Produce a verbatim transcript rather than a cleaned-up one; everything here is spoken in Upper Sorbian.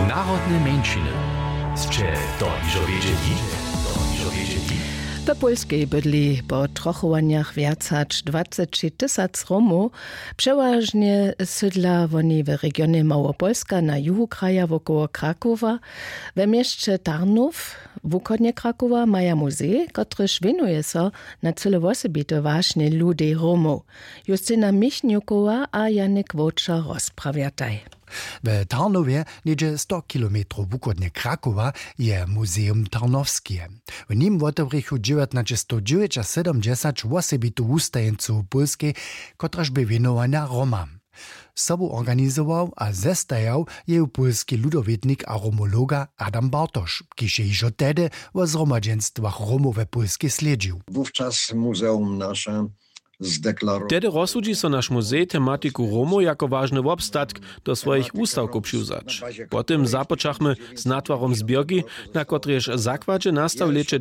Narodne mjeńšiny. Sće to hižo wědźeli? To hižo wědźeli? W Pólskej bydli po trochowanjach wjac hač dwaceći tysac Romow. Přewažnje sydla woni w regionje Małopolska na juhu kraja wokoło Krakowa. We měsće Tarnów, wuchodnje Krakowa, maja muzej, kotryž wěnuje so na cyle wosebite wašnje ludej Romow. Justina Michniukowa a Janik Wowča rozprawjataj. W Tarnowje, něhdźe sto kilometrow wuchodnje Krakowa, je Muzeum Tarnowskeje. W nim wotewrěchu dźewjatnaćestowdźewjećasydomdźesać wosebitu wustajeńcu w Pólskej, kotraž bě wěnowana Romam. Sobu organizował a zestajał jeju pólski ludowětnik a romologa Adam Bartoš, kiž je hižo tehdy wo zhromadźenstwach Romow we Pólskej slědźił. Wówczas muzeum nasze zdeklarowało. Tehdy rozsudźi so naš muzej tematiku Romow jako wažny wobstatk do swojich wustawkow přiwzać. Potom započachmy z natwarom zběrki, na kotrejež zakładźe nastał w lěće